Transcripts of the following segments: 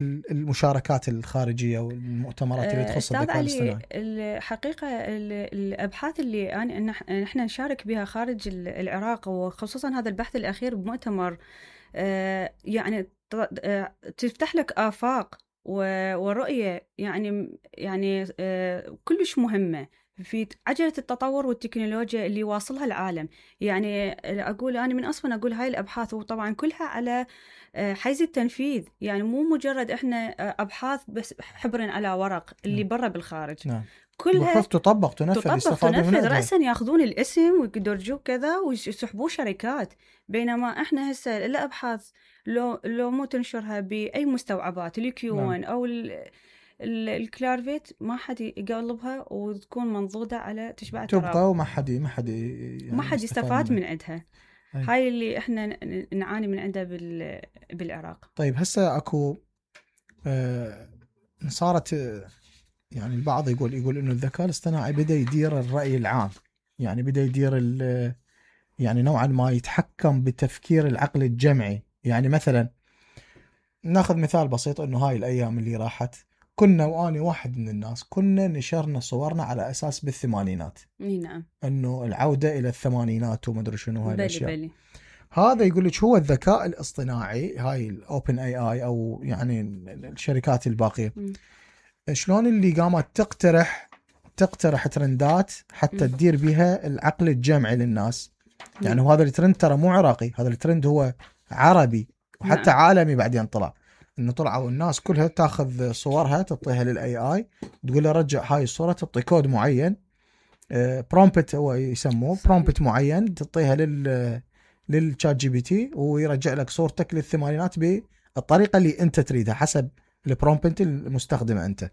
المشاركات الخارجية والمؤتمرات اللي تخص الذكاء الاصطناعي؟ الحقيقة الأبحاث اللي نحن نشارك بها خارج العراق، وخصوصا هذا البحث الأخير بمؤتمر، يعني تفتح لك آفاق ورؤية يعني كلش مهمة في عجلة التطور والتكنولوجيا اللي واصلها العالم. يعني أنا من أصلا أقول هاي الأبحاث وطبعا كلها على حيز التنفيذ، يعني مو مجرد إحنا أبحاث بس حبر على ورق اللي برا بالخارج. نعم. كلها بحث تطبق تنفذ رأسا ياخذون الاسم ويدرجوه كذا ويسحبوه شركات. بينما إحنا هسه الأبحاث لو مو تنشرها بأي مستوعبات الكيوان أو الكلارفيت ما حد يقلبها وتكون منضودة على تشبع التراب، تبقى وما حد يستفاد من عندها. هاي اللي احنا نعاني من عندها بالعراق. طيب هسه اكو صارت يعني البعض يقول انه الذكاء الاصطناعي بدا يدير الرأي العام، يعني بدا يدير يعني نوعا ما يتحكم بتفكير العقل الجمعي. يعني مثلا ناخذ مثال بسيط، انه هاي الايام اللي راحت كنا واني واحد من الناس كنا نشرنا صورنا على اساس بالثمانينات. نعم. انه العودة الى الثمانينات وما ادري شنو هاي الاشياء. بلي. هذا يقول لك هو الذكاء الاصطناعي، هاي الاوبن اي اي او يعني الشركات الباقية، شلون اللي قامت تقترح ترندات حتى تدير بها العقل الجمعي للناس. يعني وهذا الترند ترى مو عراقي، هذا الترند هو عربي وحتى عالمي. بعدين طلع انه طلعوا الناس كلها تاخذ صورها تعطيها للاي اي، تقول له رجع هاي الصورة، تعطي كود معين، برومبت هو يسموه برومبت معين، تعطيها للشات جي بي تي ويرجع لك صورتك للثمانينات بالطريقة اللي انت تريدها حسب البرومبت المستخدمه انت.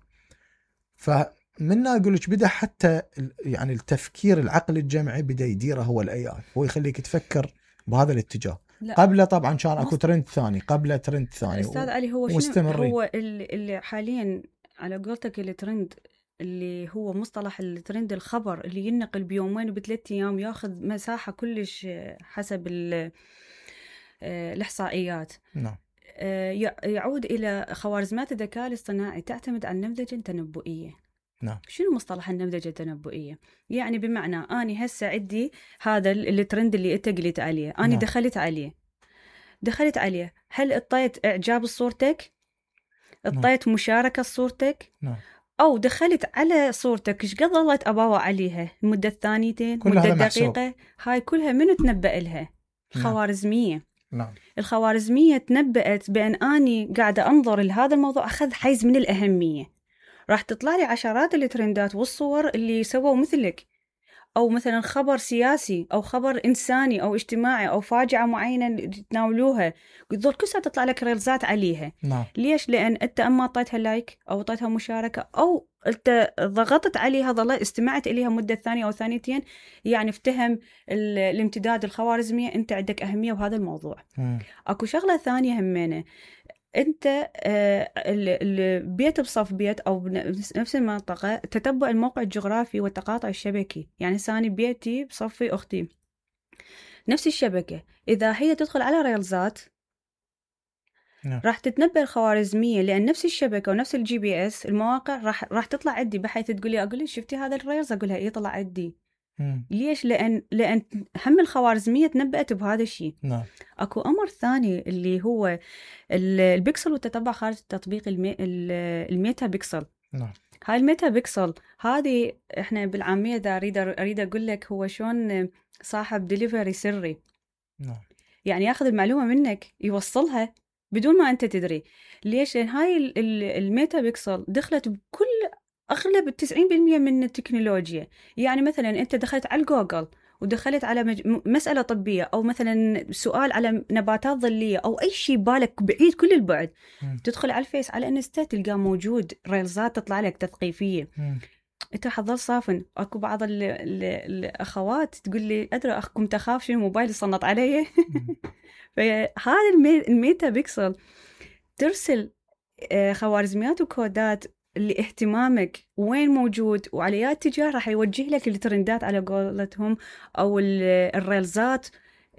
فمنها اقول لك بدا حتى يعني التفكير العقل الجمعي بدا يديره هو الاي اي، هو يخليك تفكر بهذا الاتجاه. قبله طبعا كان اكو ترند ثاني، قبله ترند ثاني استاذ علي. هو شنو هو اللي حاليا على قولتك الترند اللي هو مصطلح الترند الخبر اللي ينقل بيومين وبثلاث ايام، ياخذ مساحه كلش حسب الاحصائيات. نعم. يعود إلى خوارزميات الذكاء الاصطناعي تعتمد على النمذجة التنبؤية. نعم. شنو مصطلح النمذجة التنبؤية؟ يعني بمعنى أنا هسه عندي هذا الترند اللي أنت قلت عليه، أنا نعم. دخلت عليه، هل اطيت إعجاب صورتك؟ اطيت نعم. مشاركة صورتك؟ نعم. أو دخلت على صورتك إيش قد ظلت أباوع عليها مدة ثانيتين، مدة دقيقة، هاي كلها من تنبأ لها؟ الخوارزمية. نعم. الخوارزمية تنبأت بأن أني قاعدة أنظر لهذا الموضوع أخذ حيز من الأهمية، راح تطلع لي عشرات الترندات والصور اللي سووا مثلك، أو مثلا خبر سياسي أو خبر إنساني أو اجتماعي أو فاجعة معينة تناولوها، ذول كلها تطلع لك ريلزات عليها. نعم. ليش؟ لأن أنت أما أعطيتها لايك أو أعطيتها مشاركة أو أنت ضغطت عليها، ظلت استمعت إليها مدة ثانية أو ثانيتين، يعني افتهم الامتداد الخوارزمية أنت عندك أهمية بهذا الموضوع. أكو شغلة ثانية همينة، أنت البيت بصف بيت أو بنفس المنطقة، تتبع الموقع الجغرافي والتقاطع الشبكي. يعني ثاني بيتي بصفي أختي نفس الشبكة، إذا هي تدخل على ريلزات راح تتنبأ الخوارزمية، لأن نفس الشبكة ونفس الجي بي اس المواقع راح تطلع عندي، بحيث أقول لي شفتي هذا الريلز، أقولها إيه طلع عندي. ليش؟ لأن هم الخوارزمية تنبأت بهذا الشيء. نعم. أكو أمر ثاني اللي هو البكسل والتتبع خارج التطبيق، الميتا بكسل. نعم. هاي الميتا بكسل هذه احنا بالعامية إذا أريد أقول لك هو شلون صاحب ديليفري سري. نعم. يعني ياخذ المعلومة منك يوصلها بدون ما أنت تدري. ليش؟ لأن هاي الميتا بكسل دخلت بكل أغلب 90% من التكنولوجيا. يعني مثلا أنت دخلت على جوجل ودخلت على مسألة طبية أو مثلا سؤال على نباتات ظلية أو أي شيء بالك بعيد كل البعد، تدخل على الفيس على انستا تلقى موجود ريلزات تطلع لك تثقيفية. انت حظل صافن. اكو بعض الأخوات تقول لي أدري أخكم تخاف شنو موبايل يصنط علي. فهذا الميتا بيكسل ترسل خوارزميات وكودات لاهتمامك وين موجود وعلى اي اتجاه، راح يوجه لك الترندات على قولتهم او الريلزات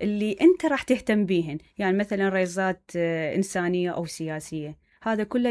اللي انت راح تهتم بيهن. يعني مثلا ريلزات انسانيه او سياسيه، هذا كله